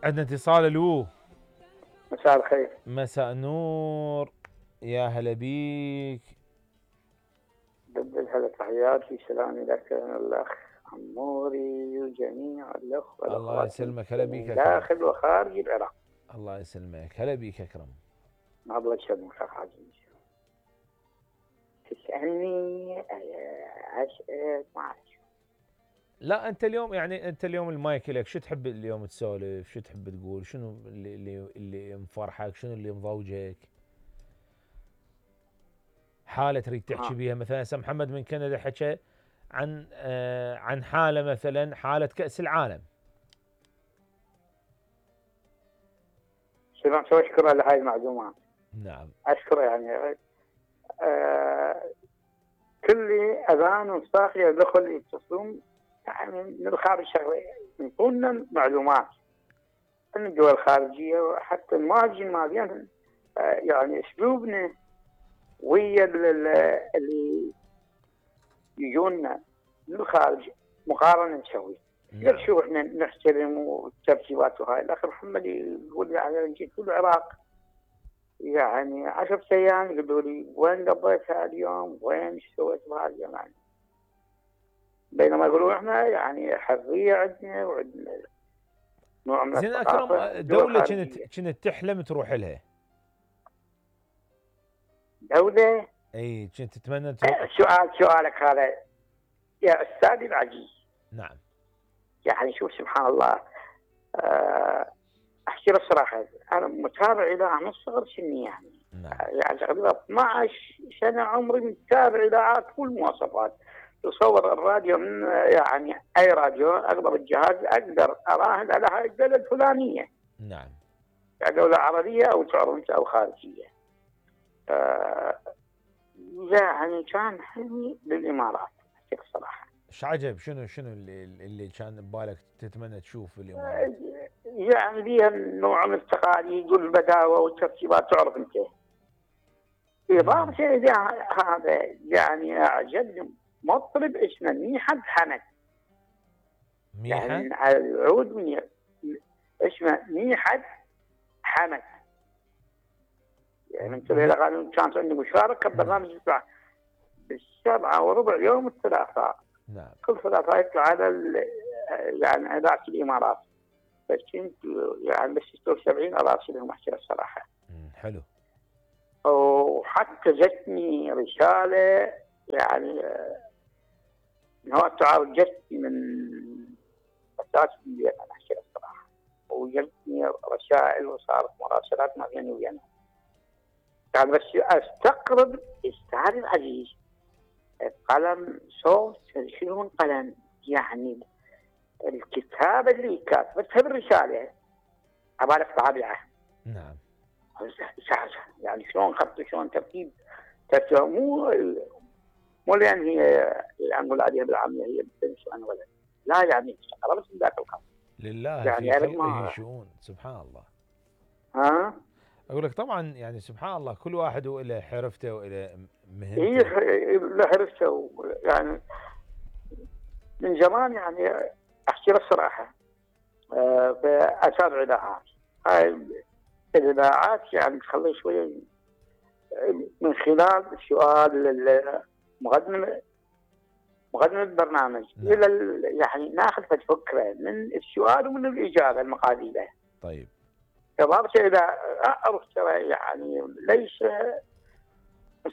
عندنا اتصال. الو، مساء الخير. مساء النور، يا هلا بيك. بدل هلا تحياتي سلامي لك الاخ عموري وجميع الاخوه الله والاخوات يسلمك، هلا بيك من اكرم. داخل وخارج العراق. الله يسلمك، هلا بيك اكرم. الله يسلمك اخ عزيز. تسالني اسال ما اعرف. لا انت اليوم يعني انت اليوم المايك لك، شو تحب اليوم تسولف؟ شو تحب تقول؟ شنو اللي مفرحك؟ شنو اللي مضوجك؟ حاله تريد تحكي بيها؟ مثلا هسه محمد من كندا حكى عن حاله، مثلا حاله كأس العالم. سمعت واشكره على هاي المعلومات. نعم. اشكره يعني كل اذان وصاخ يدخل يتصلون يعني من الخارج شغله يعطونا معلومات من الدول الخارجيه وحتى المهاجرين مالين يعني اسلوبنا ويا اللي يجونا من الخارج مقارنه نسوي. نعم. شوف احنا نحترم والترتيبات وهاي. الاخ محمد يقول يعني جيت في العراق يعني 10 ايام يقولوا لي وين قضيت هذا اليوم؟ وين ايش سويت بهذا اليوم؟ يعني بينما يقولون احنا يعني حريه عندنا وعندنا نوع من زين الثقافه. اكرم، دوله كنت تحلم تروح لها؟ دوله؟ اي كنت تتمنى تروح؟ سؤالك هذا يا استاذي العزيز. نعم. يعني شوف سبحان الله، احكي لك صراحه انا متابع اذاعه من صغر سني يعني. نعم. يعني تقريبا 12 سنه عمري متابع اذاعات كل مواصفات. تصور الراديو من يعني اي راديو اقدر الجهاز اقدر اراهن على هاي الدوله الفلانيه. نعم. يعني دوله عربيه او تعرف او خارجيه. يعني كان حلمي للامارات احكي الصراحه. ايش عجب؟ شنو اللي كان ببالك تتمنى تشوف في الامارات؟ يعني بيها نوع من التقاليد والبداوه والترتيبات تعرف انت. إضافة إلى هذا يعني أعجبني مطرب اسمه ميحد حمد. ميحد؟ يعني على العود اسمه ميحد حمد. يعني انتبه لغاية كانت عندي مشاركة ببرنامج ب7:15 يوم الثلاثاء. نعم. كل ثلاثاء يطلع على يعني إذاعة الإمارات. بس كنت يعني بس 76 أراسلهم أحكي الصراحة. حلو. وحتى جتني رسالة يعني هو التعاون جتني من أساس البيت أنا أحكي الصراحة. وجتني رسائل وصارت مراسلات ما بيني وبينهم. يعني بس أستقرب أستاذ العزيز قلم صوت شنو قلم يعني الكتابة اللي كاتبتها بالرسالة عبالك طابعة. نعم. يعني شلون خط شلون ترتيب مو لان هي نقول عليها بالعاميه هي بنت وانا ولد. لا يعني استقربت من ذاك الخط. لله يعني في خلقه شؤون. سبحان الله. ها؟ اقول لك طبعا يعني سبحان الله كل واحد وله حرفته وله مهنته. له حرفته يعني من زمان يعني احكي لك الصراحه بأتابع اذاعات. هاي الاذاعات يعني تخلي شويه من خلال سؤال مقدمة البرنامج. نعم. إلى يعني ناخذ فكرة من السؤال ومن الإجابة المقابلة. طيب. إضافة إلى أعرف ترى يعني ليس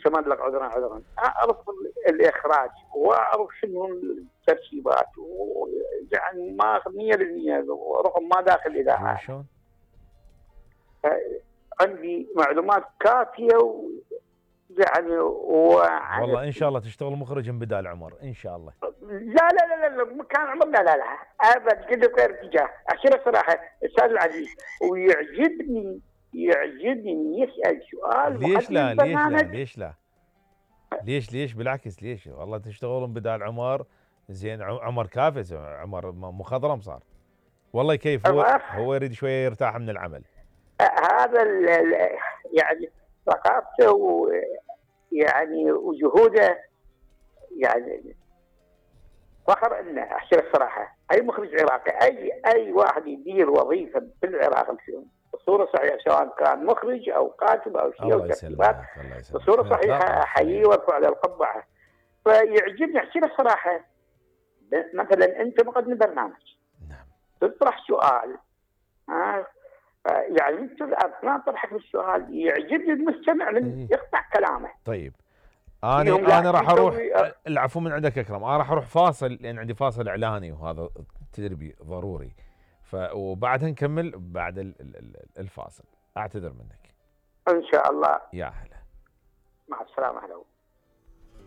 سمد لك عذرا أعرف الإخراج وأعرف شنو الترتيبات ويعني ما 100% رغم ما داخل الإذاعة. شلون؟ عندي معلومات كافية يعني والله ان شاء الله تشتغل مخرج بدال عمر ان شاء الله. لا كان عمر لا ابد قد غير اتجاه. احكي لك صراحه استاذ العزيز ويعجبني يسال سؤال. ليش بالعكس ليش والله تشتغلون بدال عمر. زين عمر كافز، عمر مخضرم صار والله كيف هو يريد شويه يرتاح من العمل. هذا يعني ثقافته يعني وجهوده يعني فخر انه احكي لك صراحه، اي مخرج عراقي، اي واحد يدير وظيفه في العراق بصوره صحيحه، سواء كان مخرج او كاتب او شيء او الله ترتيبات يسلمك الله يسلمك بصوره صحيحه، احييه وارفع له القبعه. فيعجبني احكي لك صراحه، مثلا انت مقدم برنامج، نعم، تطرح سؤال، يعني انت اثناء طرحك للسؤال يعجبني المستمع من يقطع كلامه. طيب انا راح اروح، العفو من عندك اكرم، انا راح اروح فاصل لان عندي فاصل اعلاني وهذا تدري ضروري، وبعدها نكمل بعد الفاصل. اعتذر منك. ان شاء الله. يا هلا. مع السلامه. هلا.